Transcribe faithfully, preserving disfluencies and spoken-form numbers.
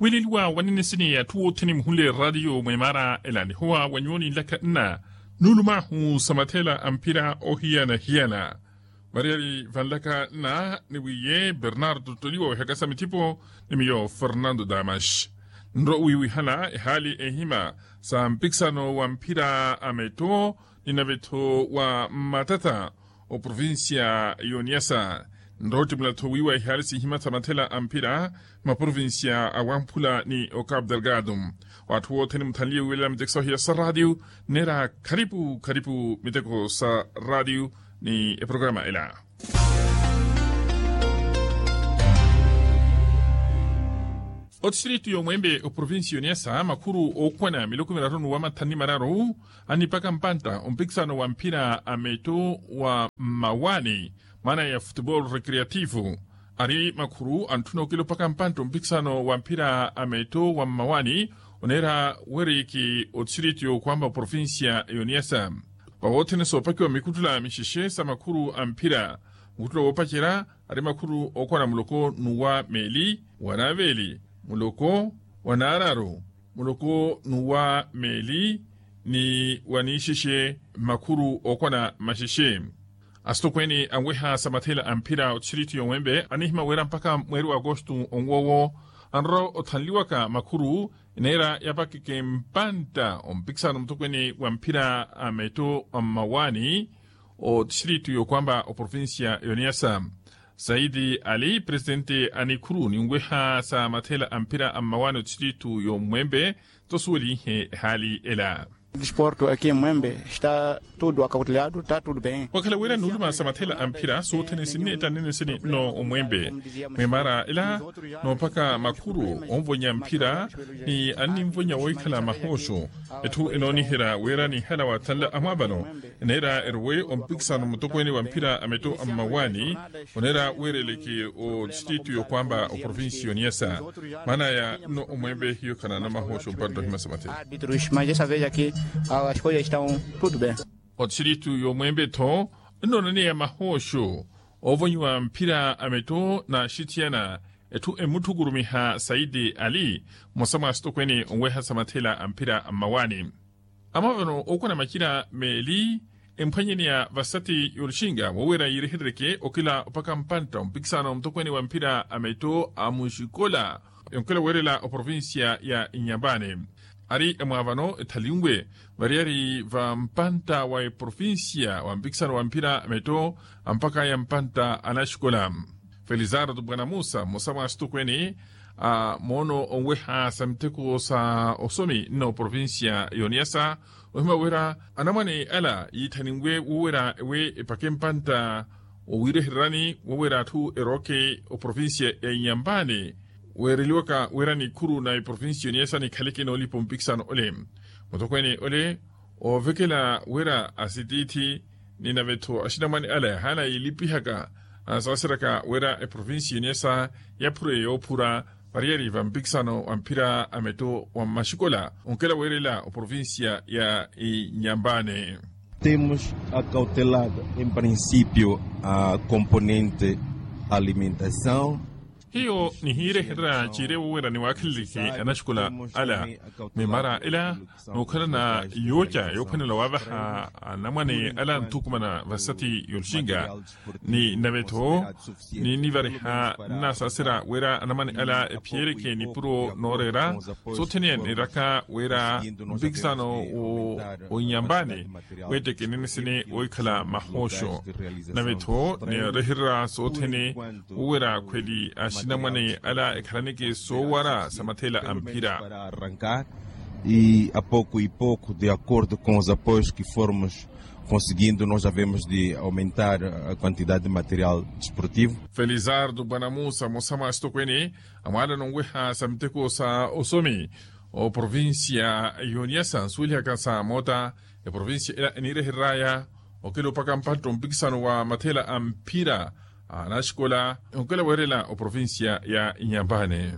Wiileliwa wa ninisini atthu othene muhunle eraatiyo mweemara ela nihowa wa nyuwo ninlaka nna nuulumahu sa mathela a mphira ohiyana-hiyana. Variyari vanlaka nna ni wiiye bernardo toliwa wehaka sa mithipo ni miyo fernando damas nro wiiwihana ehaali ehima sa mpikisano wa mphira a metto ni navetho wa mmatata oprovincia y'oniasa. Nroottimula-tho wiiwa ihaali sihima sa mathela a mphira maprovincia a wamphula ni ocapu delgado. Atthu othene muthanliye wiiwelela miteko sa ohiya sa raatiyo nneera kharipu kharipu miteko sa raatiyo ni eprograma ela. Otistiritu y'omwembe oprovincia y'oniasa makhuru ookwana miloko miraru n'uwa mathanu ni mararu annipaka mpantta ompikisano wa mphira a metto wa mmawaani mwaana ya futebol recreativo. Ari makhuru antthuna okilopaka mpantta ompikisano wa mphira a metto wa mmawaani oneera weriki otistiritu y'okwamba oprovincia y'oniasa. Vawothene soopakiwa mikuttula mixexe sa makhuru a mphira mukuttula woopacerya ari makhuru ookwana muloko n'uwa meeli wa naveeli muloko wa naararu muloko n'uwa meeli ni wa niixexe makhuru ookwana maxexe. Asitokweene anweha sa mathela a mphira otistiritu y'omwembe anihima wira mpakha mweeri wa agosto onwoowo anroora othanliwaka makhuru eneera yapakeke mpantta ompikisano mutokweene wa mphira a metto a mmawaani otistiritu y'okwamba oprovincia y'oniasa. Saidi ali presitente a nikhuru ninweha sa mathela a mphira a mmawaani otistiritu y'omwembe tosuwelihe ehaali ela. Disporto aki mwembe sta tudu akakuteleyatu ta tudu ben. Wakhala wira nuuluma sa mathela a mphira soothene sinneetta nnenesene nno omwembe mweemara ela noophaka makhuru onvonya mphira ni anninvonya wohikhala mahooxo. Etthu enooniherya wira nihala wathanla amwaavano eneera erowe ompikisano mutokweene wa mphira a metto a mmawaani oneera weereleke otistiritu y'okwamba oprovincia y'oniasa. Mwaanaya nno omwembe hiyo khanana mahooxo mpantta ohimasa mathela. Otistiritu y'omwembe-tho nnoonaneya mahooxo oovonyiwa mphira a metto n'axithiyana. Etthu emutthukurumiha saidi ali mmosa mwa asitokweene onweha sa mathela a mphira a mmawaani. Amwaavano ookwana macina meeli emphwanyeneya vasati y'oluxinga woowerya yiireherereke okila opaka mpantta ompikisano mutokweene wa mphira a metto a muxikola yonkela weerela oprovincia ya inyampani. Ari emwaavano ethalinwe variyari va mpantta wa eprovincia wa mpikisano wa mphira a metto ampakaya mpantta a naxikola. Felizardo bwana musa mmosa mwa asitokweene a moono onweha sa miteko sa osomi nno oprovincia y'oniasa ohima wira anamwane ala yiithaninwe woowerya ewe epake mpantta owiirehererani woowerya atthu erooke oprovincia ya inyampani weereliwaka wira nikhuru na eprovincia y'oniasa nikhaleke noolipa ompikisano ole. Mutokweene ole oovekela wira asitiithi ni nave-tho axinamwane ala yahaana yiilipihaka anasaaseryaka wira eprovincia y'oniasa yaphure yoophura variyari va mpikisano wa mphira a metto wa mmaxikola onkela weerela oprovincia ya inyampani. Temos acautelada em princípio a componente alimentação. Hiyo nihiirehererya ciire woowerya niwaakheleleke anaxikola ala mwiimara ela nookhalana yooca yoophwanela waawaha anamwane ala nthukumana vasati y'oluxinga ni nave-tho niinivariha nnasaaserya wira anamwane ala ephiyereke nipuro nooreera soothene niiraka wira mpikisano w'inyampani weetteke enenesene woohikhala mahooxo. Nave-tho niirehererya soothene woowerya khweli axinamwane ala ekhalaneke soowara sa mathela a mphira. E a pouco e pouco de acordo com os apoios que formos conseguindo nós havemos de aumentar a quantidade de material desportivo. Felizardo bwana musa mmosa mwa asitokweene amwaalana onweha sa miteko sa osomi oprovincia y'oniasa nsuwelihaka sa moota eprovincia ela eniirehereraya okilopaka mpantta ompikisano wa mathela a mphira a naxikola onkela weerela oprovincia ya inyampani.